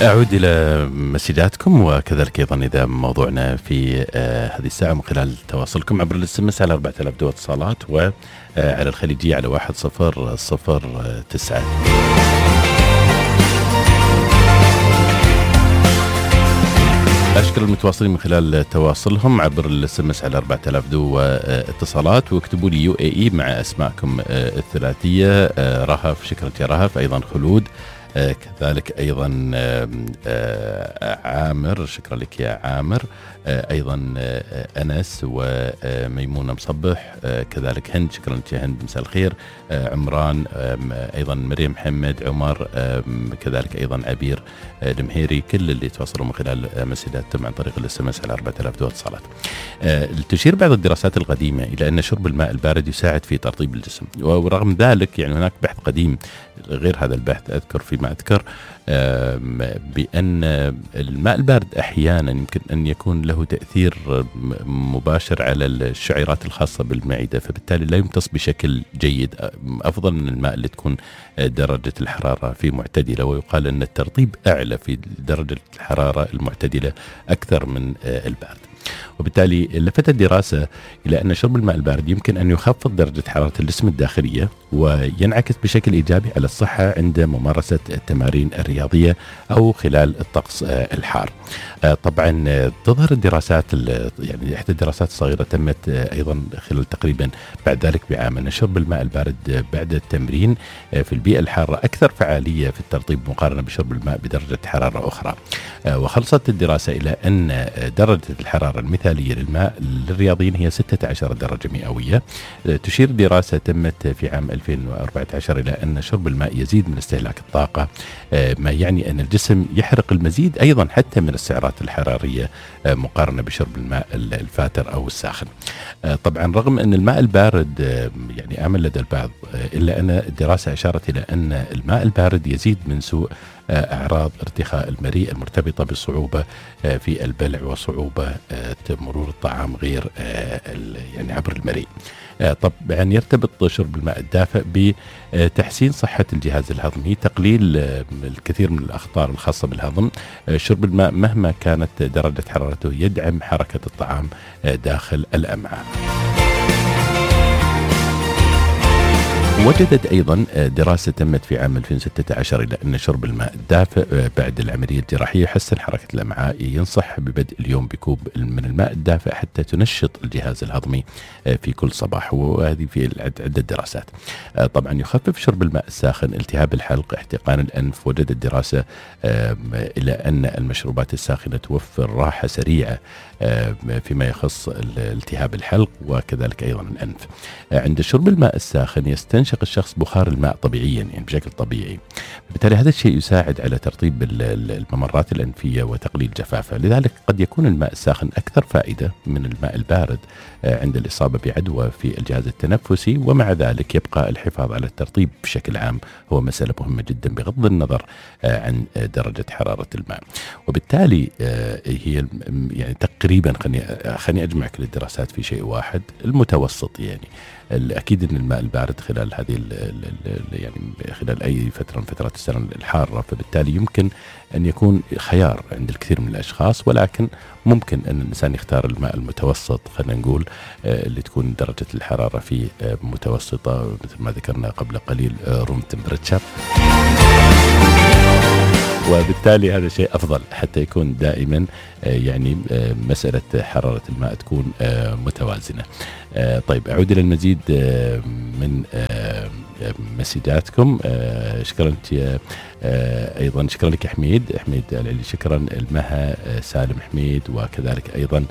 أعود إلى مسجاتكم وكذلك أيضا إذا موضوعنا في هذه الساعة من خلال تواصلكم عبر الSMS على 4000 دو اتصالات وعلى الخليجية على 1009. أشكر المتواصلين من خلال تواصلهم عبر الSMS على 4000 دو اتصالات، واكتبوا لي UAE مع أسماءكم الثلاثية. رهف، شكرا يا رهف، أيضا خلود، كذلك أيضا عامر، شكرا لك يا عامر، أيضا أنس وميمونة مصبح، كذلك هند، شكرا لك يا هند، مساء الخير، عمران، أيضا مريم محمد، عمر، كذلك أيضا عبير المهيري، كل اللي تواصلوا من خلال مسجاتهم عن طريق الSMS على 4000 دو اتصالات. تشير بعض الدراسات القديمة إلى أن شرب الماء البارد يساعد في ترطيب الجسم، ورغم ذلك يعني هناك بحث قديم غير هذا البحث أذكر فيما أذكر بأن الماء البارد أحيانا يمكن أن يكون له تأثير مباشر على الشعيرات الخاصة بالمعدة، فبالتالي لا يمتص بشكل جيد، أفضل من الماء اللي تكون درجة الحرارة فيه معتدلة، ويقال أن الترطيب أعلى في درجة الحرارة المعتدلة أكثر من البارد. وبالتالي لفتت دراسة إلى أن شرب الماء البارد يمكن أن يخفض درجة حرارة الجسم الداخلية وينعكس بشكل إيجابي على الصحة عند ممارسة التمارين الرياضية أو خلال الطقس الحار. طبعا تظهر الدراسات يعني إحدى الدراسات الصغيرة تمت أيضا خلال تقريبا بعد ذلك بعام أن شرب الماء البارد بعد التمرين في البيئة الحارة أكثر فعالية في الترطيب مقارنة بشرب الماء بدرجة حرارة أخرى. وخلصت الدراسة إلى أن درجة الحرارة المثالية للماء للرياضيين هي 16 درجة مئوية. تشير دراسة تمت في عام 2014 إلى أن شرب الماء يزيد من استهلاك الطاقة، ما يعني أن الجسم يحرق المزيد أيضا حتى من السعرات الحرارية مقارنة بشرب الماء الفاتر أو الساخن. طبعا رغم أن الماء البارد يعني آمن لدى البعض، إلا أن الدراسة أشارت إلى أن الماء البارد يزيد من سوء أعراض ارتخاء المريء المرتبطة بالصعوبة في البلع وصعوبة مرور الطعام غير يعني عبر المريء. طبعا يرتبط شرب الماء الدافئ بتحسين صحة الجهاز الهضمي، تقليل الكثير من الأخطار الخاصة بالهضم. شرب الماء مهما كانت درجة حرارته يدعم حركة الطعام داخل الأمعاء. وجدت أيضا دراسة تمت في عام 2016 إلى أن شرب الماء الدافئ بعد العملية الجراحية يحسن حركة الأمعاء. ينصح ببدء اليوم بكوب من الماء الدافئ حتى تنشط الجهاز الهضمي في كل صباح، وهذه في عدة دراسات. طبعا يخفف شرب الماء الساخن التهاب الحلق، احتقان الأنف. وجدت دراسة إلى أن المشروبات الساخنة توفر راحة سريعة فيما يخص التهاب الحلق وكذلك أيضا الأنف. عند شرب الماء الساخن يستنشق الشخص بخار الماء طبيعيا يعني بشكل طبيعي، بالتالي هذا الشيء يساعد على ترطيب الممرات الأنفية وتقليل جفافها. لذلك قد يكون الماء الساخن أكثر فائدة من الماء البارد عند الإصابة بعدوى في الجهاز التنفسي، ومع ذلك يبقى الحفاظ على الترطيب بشكل عام هو مسألة مهمة جدا بغض النظر عن درجة حرارة الماء. وبالتالي هي يعني تقريبا خليني أجمع كل الدراسات في شيء واحد المتوسط. يعني الأكيد أن الماء البارد خلال هذه يعني خلال أي فترة من فترات السنة الحارة، فبالتالي يمكن أن يكون خيار عند الكثير من الأشخاص، ولكن ممكن أن الإنسان يختار الماء المتوسط، خلينا نقول اللي تكون درجة الحرارة فيه متوسطة مثل ما ذكرنا قبل قليل روم تمبرتشر، وبالتالي هذا شيء أفضل حتى يكون دائما يعني مسألة حرارة الماء تكون متوازنة. طيب أعود إلى المزيد من مسجاتكم. شكرا لك أيضا، شكرا لك حميد العلي، شكرا المها سالم حميد، وكذلك أيضا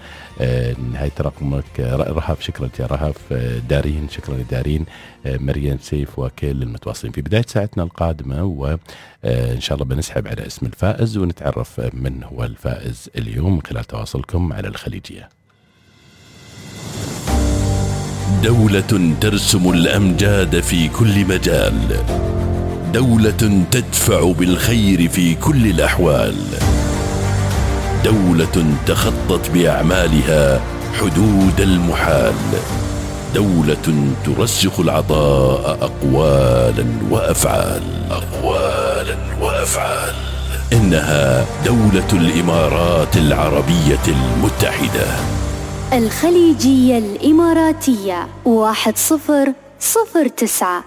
نهاية رقمك رهف، شكرا يا رهف، دارين، شكرا لدارين، مريم سيف، وكل المتواصلين. في بداية ساعتنا القادمة وإن شاء الله بنسحب على اسم الفائز ونتعرف من هو الفائز اليوم من خلال تواصلكم على الخليجية. دولة ترسم الأمجاد في كل مجال، دولة تدفع بالخير في كل الأحوال، دولة تخطت بأعمالها حدود المحال، دولة ترسخ العطاء أقوالا وأفعال. إنها دولة الإمارات العربية المتحدة. الخليجية الإماراتية 1009.